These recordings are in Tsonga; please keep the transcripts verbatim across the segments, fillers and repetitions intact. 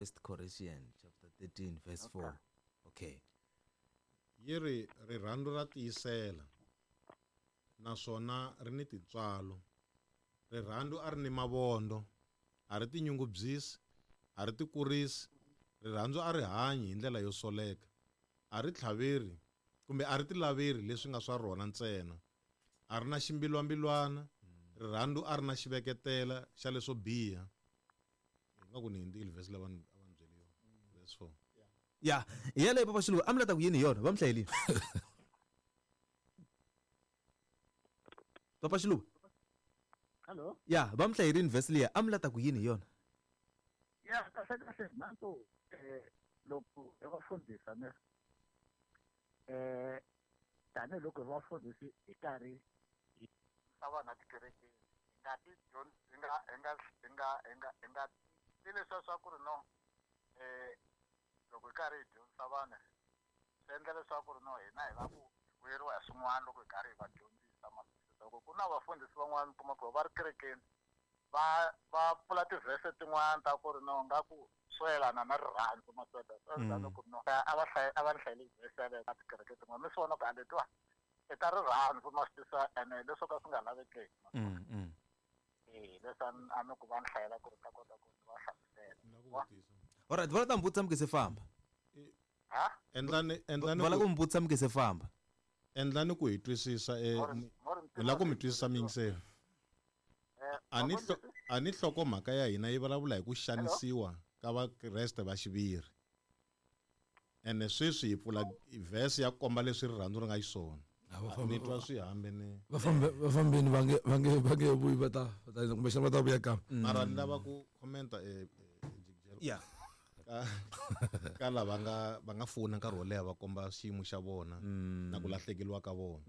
First Corinthians chapter thirteen verse four. Okay. Yi ri rirhandzu ra tiyisela naswona ri ni tintswalo. Rirhandzu a ri ni mavondo, a ri tinyungubyisi, a ri tikurisi. Rirhandzu a ri hanyi hi ndlela yo soleka, a ri tlhaveri kumbe a ri tilaveri leswi nga swa rona ntsena. A ri na ximbilwambilwana, rirhandzu a ri na xiveketela xa leswo biha. Nga ku ni hindzile verse leyi a va ni byele yona, verse four. Ya, hi yaleyo Papa Xiluva, a mi la ta ku yini hi yona? Va mi hlayelile. Papa Xiluva. Hello. Ya, va mi hlayerile verse liya, a mi la ta ku yini hi yona? Ya, kahle kahle nanto eh loko hi va fundisa ne eh tanihiloko hi va fundisi hi karhi hi yisa vanhu etikerekeni, hi nga ti hi nga hi nga hi nga hi nga hi nga ti leswiya swa ku ri no eh loko hi karhi hi dyondzisa vanhu swi endla leswaku ri no hina hi lava ku vuyeriwa hi swin'wana loko hi karhi hi va dyondzisa. Loko ku na vafundhisi van'wana kuma ku va ri kerekeni va va pfula tivhese tin'wana ta ku ri no nga ku swo yelana na rirhandzu masweta swi ku no a va hlayi a va ni hlayeli vhese yaleyo ka tikereke tin'wana mi swi vona ku a letiwa i ta rirhandzu ma swi tisa ene leswo ka swi nga lavekeki. Eh leswi a ni ku va ni hlayela ku ri ta kota ku va hlamusela. Alright, va ta mi vutisa mi nge se famba. Ha? Endlani endlani va la ku mi vutisa mi nge se famba. Endlani ku hi twisisa eh hi la ku mi twisisa miyingiseri. A ni a ni nhlokomhaka ya hina yi vulavula hi ku xanisiwa ka Vakreste va xiviri. Ene sweswi hi pfula verse ya komba leswi rirhandzu ri nga xiswona. Ni twa swi hambene. Va fambe va fambeni va nge va nge va nge vuyi va ta va ta kumbexana va ta vuya kambe. Mara ni lava ku commenta eh Yeah. Ka ka lava nga va nga fona nkarhi wo leha va komba xiyimo xa vona na ku lahlekeriwa ka vona.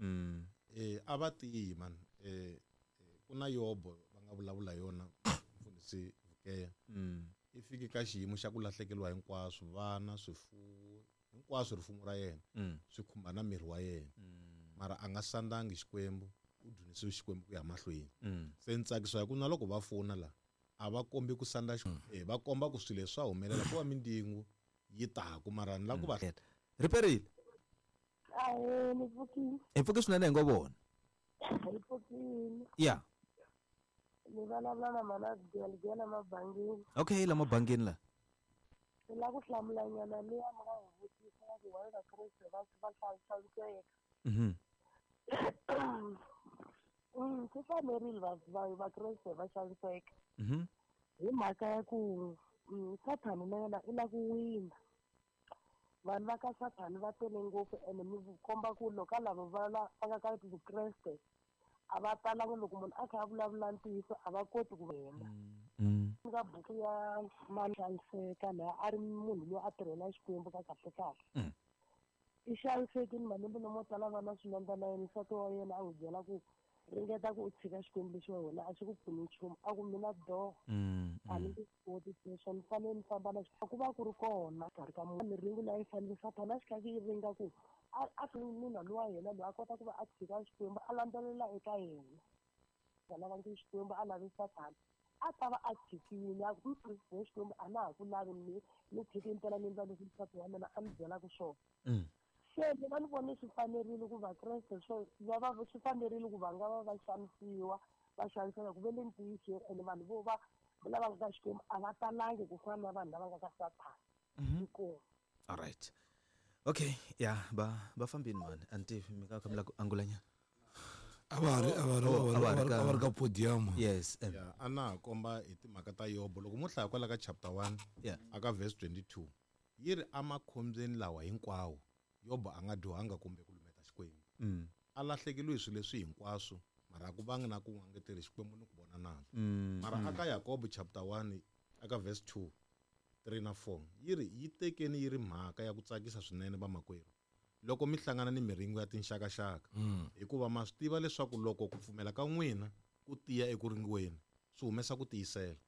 Eh a va tiyi man eh ku na Yobo va nga vulavula yona mfundhisi Vukeya. I fike ka xiyimo xa ku lahlekeriwa hinkwaswo, vana, swifuwo, hinkwaswo rifumo ra yena swi khumba na miri wa yena. Mara a nga sandangi Xikwembu, u dzunisiwe Xikwembu ku ya mahlweni. Se ni tsakisiwa hi ku na loko va fona la a va kombi ku sanda eh va komba ku swilo leswi swa humelela ku va mindingu yi taku mara ni la ku va riperile. Ahee, ni pfukile. Hi pfuke swinene hi ngo vona. Hi pfukile. Ya. Ni vulavula na mana Gela mabangini. Okay, la mabangini la. Ni la ku hlamula nyana liya mi nga hi vutisa ya ku why Vakreste va va xaniseka. Mhm. Mm, swi fanerile va va Vakreste va xaniseka. Mhm. Hi mhaka ya ku Sathana na yena i la ku wina. Vanhu va ka Sathana va tele ngopfu ene mi komba ku loko lava va la va nga ka Vukreste a va talanga loko munhu a kha a vulavula ntiyiso a va koti ku hemba. Ka buku ya Xaniseka laha a ri munhu loyi a tirhela Xikwembu ka kahle kahle. I xanisekile malembe lamo tala va na swilondza na yena nsati wa yena a n'wi byela ku ringeta ku u tshika Xikwembu lexi wa wena a xi ku pfuni nchumu a ku mina do a ni nge koti sweswo ni fanele ni famba na ku va ku ri kona karhi ka miringo leyi fanele Sathana a xi kha yi ringa ku a a nuna lowa yena loyi a kota ku va a tshika Xikwembu a landzelela eka yena a lava Xikwembu a lavi Sathana a ta va a tshikile a ku Xikwembu a na ha ku lavi ni ni tshiki mpela ni endla leswi nsati wa mina a ni byelaka swona. Se mina ni vone swi fanerile ku Vakreste swo va va swi fanerile ku va nga va va xanisiwa va xaniseka ku ve le ntiyiso ene vanhu vo va lava nga ka Xikwembu a va talangi ku fana na vanhu lava nga ka Sathana. Inkomu. All right. Okay, yeah, ba ba fambini man. Anti mi ka khamla ku angulanya. A va ri a va ri a va ri ka podium. Yes. Yeah, ana komba hi timhaka ta Yobo loko mo hlaya kwala ka chapter one yeah aka verse twenty-two yi ri amakhombyeni lawa hinkwawo Yobo a nga dyohanga kumbe ku lumeta Xikwembu. Mm. A lahlekeriwe hi swilo leswi hinkwaswo mara a ku vangi na ku ngangeteri Xikwembu ni ku vona nandzu. Mm. Mara aka Yakobo chapter one aka verse two three na four yi ri yi tekeni yi ri mhaka ya ku tsakisa swinene vamakwerhu loko mi hlangana ni miringo ya tinxakaxaka hikuva ma swi tiva leswaku loko ku pfumela ka n'wina ku tiya eku ringiweni swi humesa ku tiyisela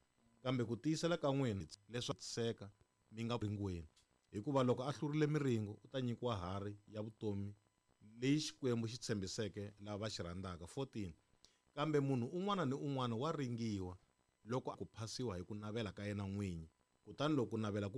kambe ku tiyisela ka n'wina leswaku seka mi nga ringiweni hikuva loko a hlurile miringo u ta nyikiwa harhi ya vutomi leyi Xikwembu xi tshembiseke lava va xi rhandzaka. fourteen kambe munhu un'wana ni un'wana wa ringiwa loko ku phasiwa hi ku navela ka yena n'winyi Kutani loko ku navela ku